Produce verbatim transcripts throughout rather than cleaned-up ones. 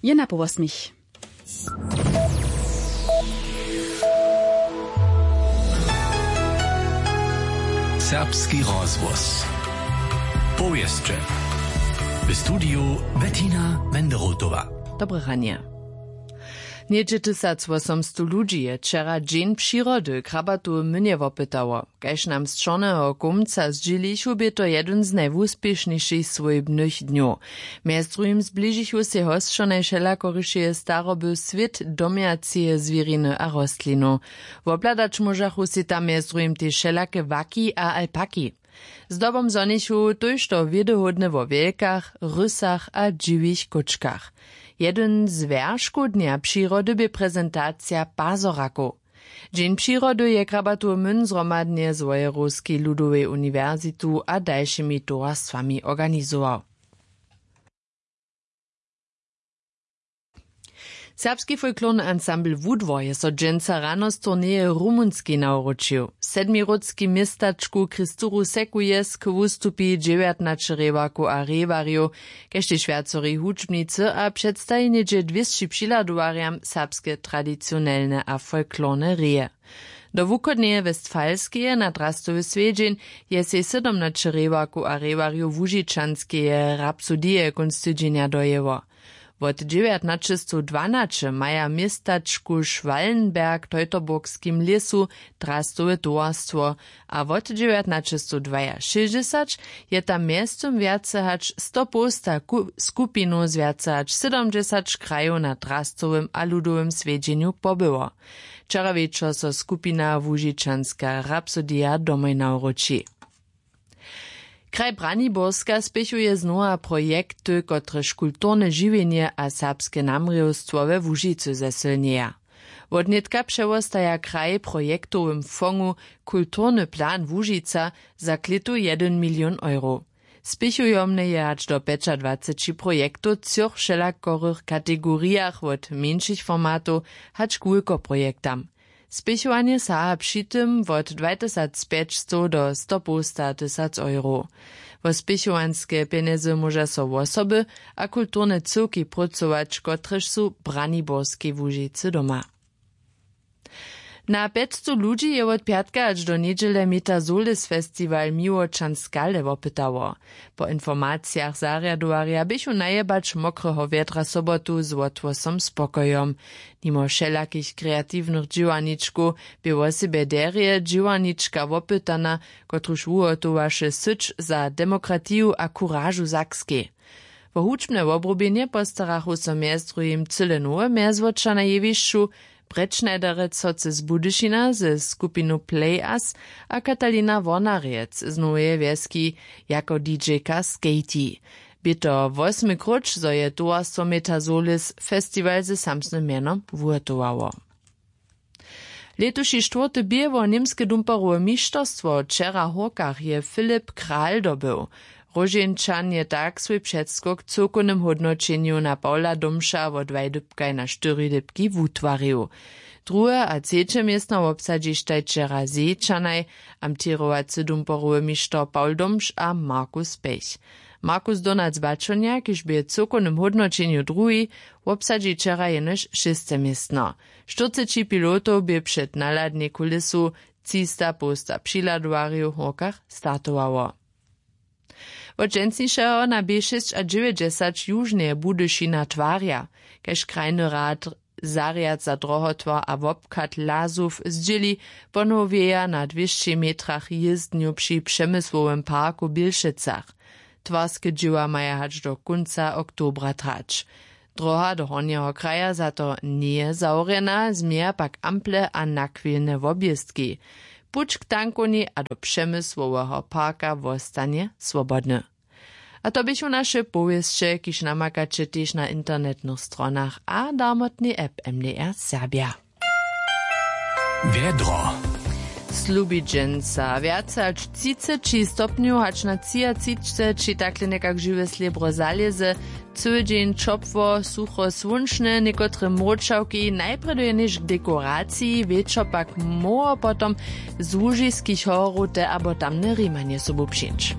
Je na połosmich. Serbski rozhłos. Powěsće. W studiju Bettina Menderotowa. Dobre ranje. Něhdźe tysacwosomstow ludźi je wčera Dźeń přirody w Krabatowym mynje wopytało. Kaž nam z Čorneho kómca zdźělichu, bě to jedyn z najwuspěšnišich swójbnych dnjow. Mjez druhim zbližichu sej hosćonaj wšelakorišeje staroby, swět domjaceje zwěriny a rostlinow. Wobhladać móžachu sej tam mjez druhim tež wšelake waki a alpaki. Zdobom zhonichu tójšto wědohódne wo wjelkach, rysach a dźiwich kóčkach. Jedyn z wjerškow Dnja přirody bě prezentacija pazorakow. Dźeń přirody je Krabatowy myn zhromadnje z Wojerowskej ludowej uniwersitu a dalšimi towarstwami organizował. Serbski folklorny ansambl Wudwor je so dźensa rano z turneje w Rumunskej nawróčił. W sedmirudskej městačku Kristuru Secuiesc wustupi dźewjatnaće rěwarkow a rěwarjow, kaž tež wjacori hudźbnicy, a předstaji něhdźe dwěsći přihladowarjam serbske tradicionelne a folklorne reje. Do wuchodneje Westfalskeje na drastowy swjedźeń je sej sydomnaće rěwarkow a rěwarjow Łužičanskeje Rapsodije kónc tydźenja dojěło. Wot dźewjatnaćestowdwanaće maja w městačku Schwallenberg w Teutoburgskim lěsu drastowe towarstwo a wot dźewjatnaćestowdwaja šěsćdźesać je tam mjeztym wjace hač sto połsta ku-, skupinow z wjace hač sydomdźesać krajow na drastowym a ludowym swjedźenju pobyło. Wčera wječor so skupina Łužičanska Rapsodija domoj nawróči. Kraj Braniborska spěchuje znowa projekty, kotrež kulturne žiwjenje a serbske namrěwstwo we Łužicy zesylnjeja. Wotnětka přewostaja kraj w projektowym fongu Kulturny plan Łužica za klětu jedyn milion euro. Spěchujomne je hač do pjećadwaceći projektow w třoch wšelakorych kategorijach, wot mjeńšich formatow hač k wulkoprojektam. Spěchowanje saha při tym wot dwatysacpjećstow do stopołsta tysac euro. Wo spěchowanske pjenjezy móža so wosoby a kulturne cyłki prócować, kotrež su w Braniborskej Łužicy doma. Na pjećstow ludźi je wot pjatka hač do njedźele Metazolis Festival Miłočan Skale wopytało. Po informacijach zarjadowarja běchu najebać mokreho wjedra sobotu z wotwosom spokojom. Nimo wšelakich kreatiwnych dźěłarničkow bě wosebje derje dźěłarnička wopytana, kotruž wuhotowaše syć za demokratiju a kuražu w Sakskej. Wo hudźbne wobrubjenje postarachu so mjez druhim cyle nowe mjezwoča na jewišću, Brett Schneiderec Hocy z Budyšina ze skupinu Play Us a Katalina Wornarjec z Noweje Wjeski jako D J-ka Skaty. Bě to wosmy króć, zo je towarstwo Metazolis festiwal ze samsnym mjenom wuhotowało. Lětuši štwórty bě wo němske dumparowe mišterstwo wčera w Hórkach je Filip Kral dobył. Róžeńčan je tak swój předskok w cyłkownym hódnoćenju na Pawla Domša wo dwaj dypkaj na štyri dypki wutwarił. Druhe a třeće městno wobsadźištaj wčera Zejčanaj, amtěrowacy dumparowy mišter Pawl Domš a Markus Pech. Markus Donac Bačonja, kiž bě w cyłkownym hódnoćenju druhi, wobsadźi wčera jenož šěste městno. Štyrceći pilotow bě před nahladnej kulisu, třista połsta přihladowarjow w Hórkach startowało. Wot dźensnišeho na B šěsćadźewjećdźesać južneje Budyšina twarja, kaž krajny rad zarjad za drohotwar a wobchad Lazow zdźěli, ponowjeja na dwěsći metrach jězdnju při Přemysłowym parku w Bělšecach. Twarske dźěła maja hač do kónca oktobra trać. Droha do hornjeho kraja za to njeje zawrjena, změja pak ample a nachwilne wobjěztki. Puć k tankowni a do Přemysłoweho parka wostanje swobodny. A to běchu naše powěsće, kiž namakaće tež na internetnych stronach a darmotnej app M D R Serbja. Wjedro. Slubi dźensa wjace hač třiceći stopnjow, hač na třiatřiceći, takle někak žiwe slěbro zalěze. Cyły dźeń ćopło, sucho, słónčne, někotre mróčawki, najprjedy jenož k dekoraciji, wječor pak móhło potom z łužiskich horow te abo tamne rimanje sobu přińć.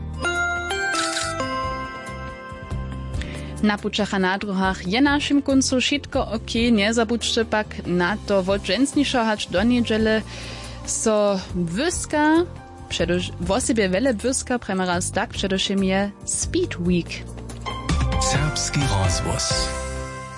Na pućach a na druhach je w našim kóncu wšitko. Okej, njezabudźće pak na to wot dźensnišo hač do njedźele. So wěska wosebje wjele błyska prjema raz tak předewšěm je speed week. Serbski rozhłos.